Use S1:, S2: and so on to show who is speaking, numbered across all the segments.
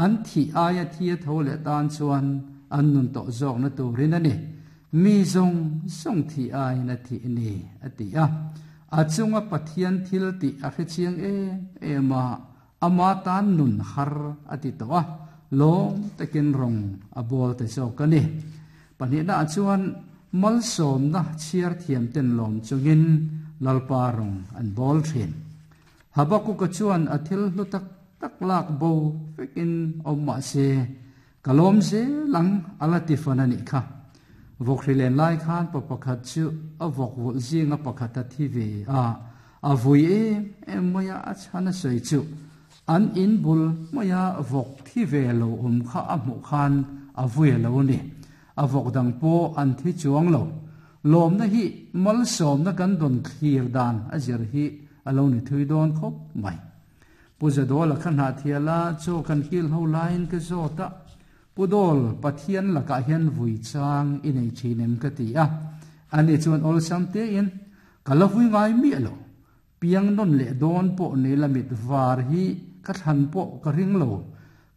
S1: An thih aia thi a tho leh tan chuan an nun tawh zawkna turin a ni. Mi zawng zawng thih aiin a thih ni, a ti a. A chunga Pathian thil tih a hrechiang em em a, ama tan nun har a ti tawh a, lawm takin rawng a bawl ta zawk a ni. Pahnihnaah chuan malsawmna chhiar thiam ten lawm chungin Lalpa rawng an bawl thin. Habakuka chuan a thil hlu tak tak lak bo vekin awm mah se, ka lawm zel ang a la ti fan a nih kha. Vawkhri len lai khan pa pakhat chu a vawk vulh zinga pakhat a thi ve a, a vui em em mai a, a chhan a sawi chu an in bul maia vawk thi ve lo awm kha a hmuh khan a vui a lo ni. A vawk dang pawh an thi chuang lo. Lawmna hi malsawmna kan dawn thlir dan a zir hi a lo ni thui dawn khawp mai. Pu Zadawla kha hnahthial a, chaw kan kil ho laiin ka zawt a, Pu Dawl, Pathian lakah hian vui chang i nei thin em ka ti a. Ani chuan awlsam tein, Ka la vui ngai miah lo. Piang nawn leh dawn pawh nei la mit var hi ka thlan pawh ka ring lo.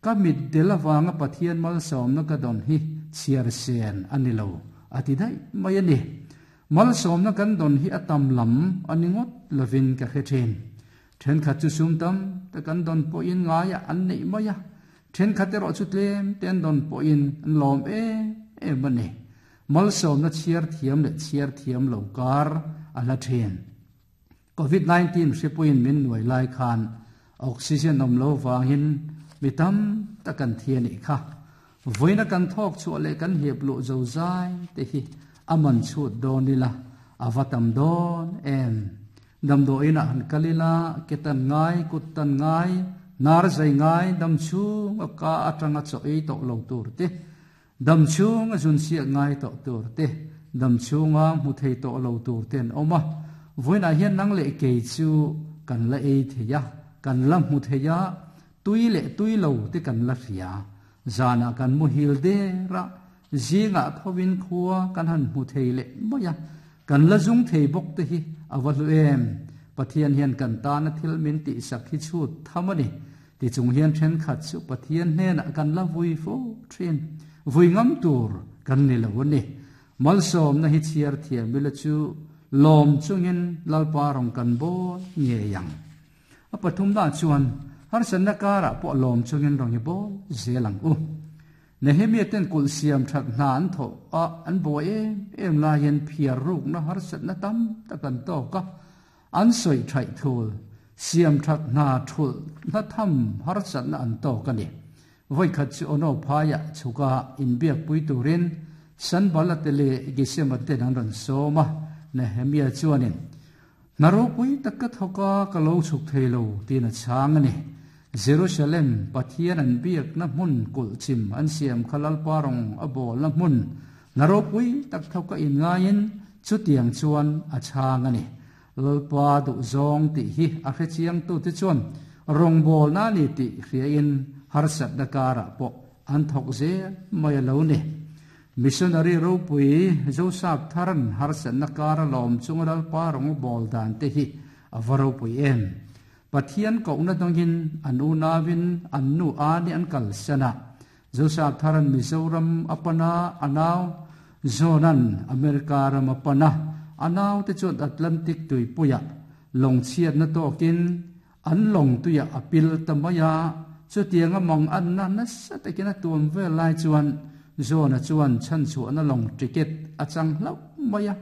S1: Ka mit del avanga Pathian malsawmna ka dawn hi chhiar sen a ni lo, a ti daih mai a ni. Malsawmna kan dawn hi a tam lam a ni ngawt lovin ka hre thin. Thenkhat chu sum tam tak an dawn pawhin ngaiah an neih mai a, thenkhat erawh chu tlem te an dawn pawhin an lawm em em a ni. Malsawmna chhiar thiam leh chhiar thiam lo kar a hla thin. Covid 19 hripuiin min nuai lai khan oxygen awm lo vangin mi tam tak kan thi a nih kha. Vawiina kan thawk chhuah leh kan hip luh zo zai te hi a man chhut dawn ila a va tam dawn em. Damdawiinah han kal ila ke tan ngai, kut tan ngai, hnar zai ngai, dam chhung a ka atanga chaw ei tawh lo tur te, Dam chhung a zun siak ngai tawh tur te, dam chhunga hmu thei tawh lo tur te an awm a. Vawiinah hian nang leh kei chu kan la ei thei a, kan la hmu thei a, tui leh tui lo te kan la hria. Zanah kan muhil der a, zingah thovin khua kan han hmu thei leh mai a, kan la zung thei bawk te hi a va hlu em! Pathian hian kan tana thil min tihsak hi chhut tham a ni. Tichung hian thenkhat chu Pathian hnenah kan la vui fo thin. Vui ngam tur kan ni lo a ni. Malsawmna hi chhiar thiam ila chu lawm chungin Lalpa rawn kan bawl ngei ang. A pathumna chuan harsatna karah pawh lawm chungin rawn i bawl zel ang u. Nehemia ten kulh siam that hna an thawh a, an buai em em laiin phiar rukna harsatna tam tak an tawk a. An sawi thaih thul, siam that hna thulh hna tham harsatna an tawk a ni. Vawikhat chu Ono phaiah chhuka inbiakpui turin Sanballat-te leh Gesema ten an rawn sawm a, Nehemia chuanin, Hna ropui tak ka thawk a, ka lo chhuk thei lo, tiin a chhang a ni. Jerusalem, Pathian an biakna hmun kulhchim an siam kha Lalpa rawng a bawlna hmun, hna ropui tak thawka inngaiin Chutiang chuan a chhang a ni. Lalpa duhzawng tih hi a hrechiangtute chuan rawngbawlna a ni tih hriain harsatna karah pawh an thawk zel mai a lo ni. Missionary ropui Joseph Tharan harsatna kara lawm chunga Lalpa rawngbawl dan te hi a va ropui em. Pathian kohna dawngin an unauin an nu ani an kalsan a, Joseph Tharan Mizoram a pan a, a nau John-a'n America ram a pan a, a naute chuan Atlantic tuipuiah lawng chhiatna tawkin an lawng tuiah a pil ta mai a. Chutianga mang anna nasa takin a tuam vel lai chuan John-a chuan chhanchhuahna lawng ticket a chang hlauh mai a.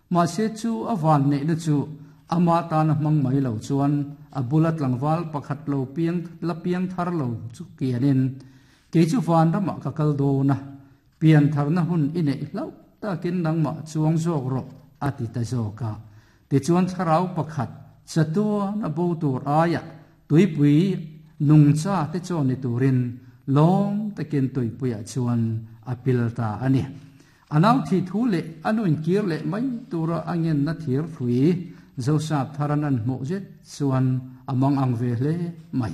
S1: Mahse chu a van neihna chu ama tana hmang mai lo chuan a bula tlangval pakhat lo piang la piang thar lo chu kianin, Kei chu van ramah ka kal dawn a, pian tharna hun i neih hlauh takin nangmah chuang zawk rawh, a ti ta zawk a. Tichuan thlarau pakhat chatuan a bo tur aiah tuipui nungcha te chaw ni turin lawm takin tuipuiah chuan a pil ta a ni. A nau thih thu leh a nu inkir leh mai tura a ngenna thir hrui Joseph tharan an hmuh zet chuan a mang ang ve hle mai.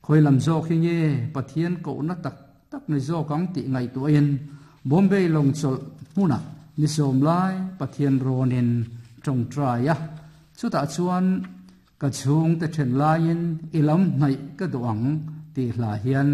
S1: Khawi lam zawk hi nge Pathian kohna tak tak ni zawk ang tih ngaihtuahin Bombay lawng chawlh hmunah ni sawm lai Pathian rawnin tawngtai a, chutah chuan ka chhungte then laiin i lam hnaih ka duh ang tih hla hian.